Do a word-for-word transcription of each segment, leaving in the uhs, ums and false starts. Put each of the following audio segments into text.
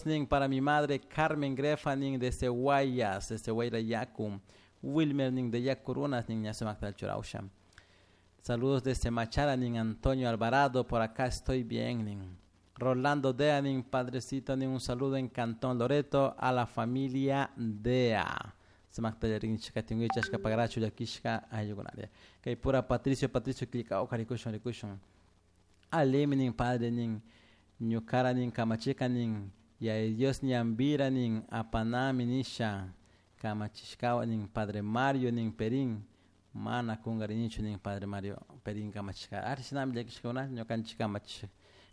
Nin para mi madre Carmen Grefa nin desde Guayas, desde Guayrayacu. Wilmer nin de Yacurunas nin ñasumakta churausha. Saludos desde Machala nin Antonio Alvarado, por acá estoy bien nin. Rolando Dea nin padrecito nin un saludo en Cantón Loreto a la familia Dea. Sumakta rinchika tinguichashka pagrachu llakishka ayukunaria. Kay pura Patricio Patricio killkawka rikushun rikushun. Alimi nin padre nin ñukara nin kamachika nin Yaya Dios ñambira nin apanami nisha kamachishkawa nin padre Mario nin Perín mana kungarinichu nin padre Mario Perín kamachishka ari shinami llakishkakuna ñukanchik kamachish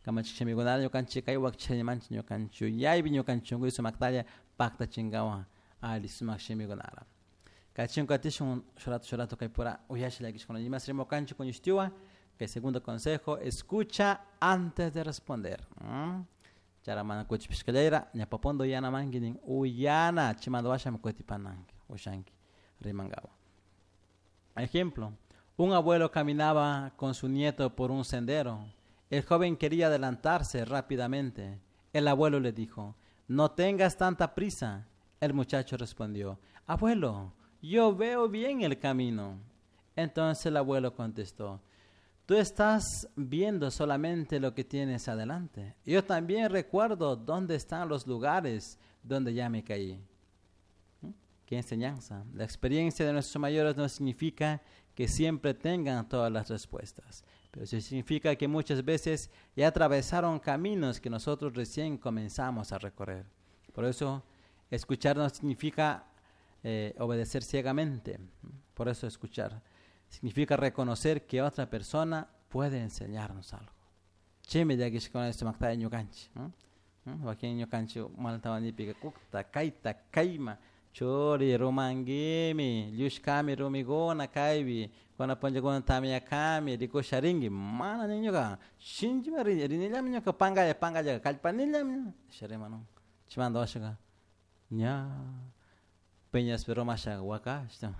kamachik shimikunata ñukanchik kay wakchanimanchik ñukanchik yuyaypi ñukanchik shunkuy sumaktalla paktachinkawan alli sumak shimikunara kachun katishun shurato shurato kay pura uyasha llakishkuna imas rimukanchik kuñushtiwa kay segundo consejo escucha antes de responder ¿Mm? Chara mana kuchipishkallayra ñapapondo uyanamanki nin uyana chimanta washami kutipananki ushanki rimankawa. Ejemplo, un abuelo caminaba con su nieto por un sendero. El joven quería adelantarse rápidamente. El abuelo le dijo, no tengas tanta prisa. El muchacho respondió, abuelo, yo veo bien el camino. Entonces el abuelo contestó, tú estás viendo solamente lo que tienes adelante. Yo también recuerdo dónde están los lugares donde ya me caí. ¿Mm? Qué enseñanza. La experiencia de nuestros mayores no significa que siempre tengan todas las respuestas, pero sí significa que muchas veces ya atravesaron caminos que nosotros recién comenzamos a recorrer. Por eso, escuchar no significa eh, obedecer ciegamente. Por eso escuchar significa reconocer que otra persona puede enseñarnos algo. Chimi llakishkuna sumakta ñukanchik. Wakin ñukanchik maltawanipika kukta, kayta, kayma, churi, rumanguimi, llushkami rumiguna kaypi, kuna punllakuna tamyakami, rikusharinki, mana nin ñuka, shinchima rinillami ñuka pankalla, pankalla, kallpanillami, nisha chimanta washaka, ña, peñaspi rumasha wakashta.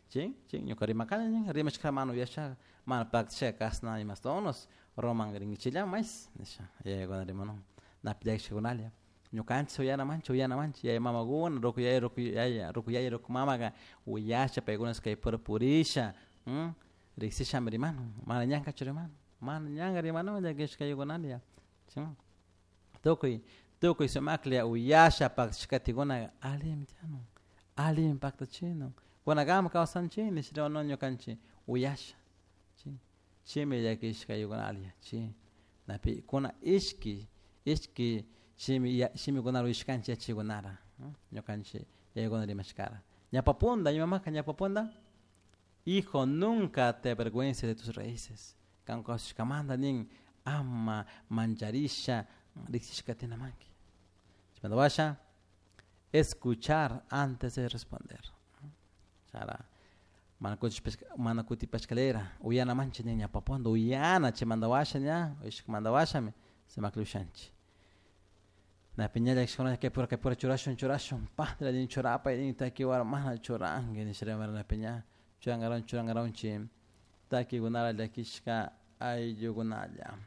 Chin, chin, ñuka rimakani nin, rimashka mana uyasha, mana paktashaka kasna imastonos, roman rinkichillami mais, nisha, yayakuna rimanun, napi llakishkakunalla. Ñukanchik uyanamanchik uyanamanchik yaya mamakuna, ruku yaya, ruku yaya, ruku yaya, ruku mamaka uyasha paykuna kay pura purisha, riksishami rimanun, mana ñankachu rimanun, mana ñanka rimanun llakishkaykunalla, chin, tukuy, tukuy sumaklla uyasha paktashkatikuna allimi tiyanun, allimi paktachinun. Kunakama kawsanchik nish rimanun ñukanchik uyasha, chin, chimi llakishkaykunalla, chi, napi kuna ishki, ishki shimi shimikunara uyashkanchik yachaykunara, ñukanchik yayakuna rimashkara. Ñapapunda, imamaka ñapapunda, hijo, nunca te avergüences de tus raíces. Kan kawsashkamanta nin ama mancharisha riksishkatinamanki. Chimanta washa, escuchar antes de responder. Chara, mana mana kutipashkalera, uyanamanchik nin ñapapunta, uyana chimanta washa ña, uyashkamanta washami, sumaklla ushanchik. Napi ña llakishkuna kay pura kay pura churashun churashun, padre nin churapay nin takiwara mana churanki nisha rimara napi ña, churankaranchik churankaranchik takikunara llakishka ayllukunalla.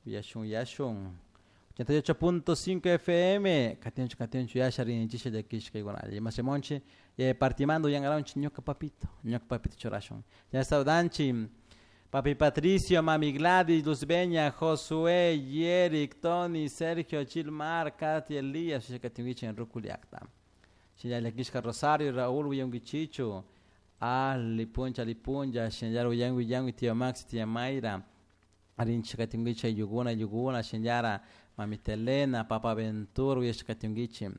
Uyashun uyashun. ochenta y ocho punto cinco F M, katinchu katinchu yasha rinchisha llakishkaykunalla. Imasimonchi, eh, partimando uyankaranchik ñuka papito, ñuka papito churashun. Ya saudanchi, Papi Patricio, Mami Gladys, Luzbeña, Josué, Yerick, Tony, Sergio, Chilmar, Katy, Elías, Shakatinguichi en Rukuliakta. Shinalla Rosario, Raúl, Uyunguichichu, Ali, Puncha, Lipunja, Shinyar, Uyangui, Yangui, Tío Max, Tía Mayra, Arinchakatinguichi, Yuguna, Yuguna, Shinyara, Mami Telena, Papa Ventura, Uyashkatinguichi,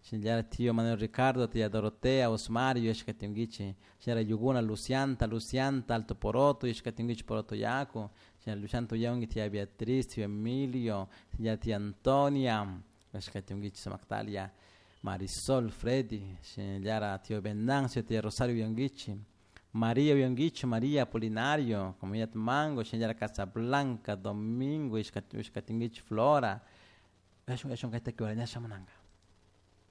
Shinyara, Tío Manuel Ricardo, Tía Dorotea, Osmar, Uyashkatinguichi, Shinyara, Yuguna, Lucianta, Lucianta, Alto Poroto, Uyashkatinguichi, Poroto Yaku, Shinyara, Lucianto Uyangui, Tía Beatriz, Tío Emilio, Shinyara, Tía Antonia, Uyashkatinguichi, Samactalia, Marisol, Freddy, Shinyara, Tío Venancio, Tía Rosario Uyanguichi, María Uyanguichi, María Apolinario, Comunidad Mango, Shinyara Casablanca, Domingo, Uyashkatinguichi, Flora, Uyashun, Uyashun, Kaita Kiwarañasha Munanga.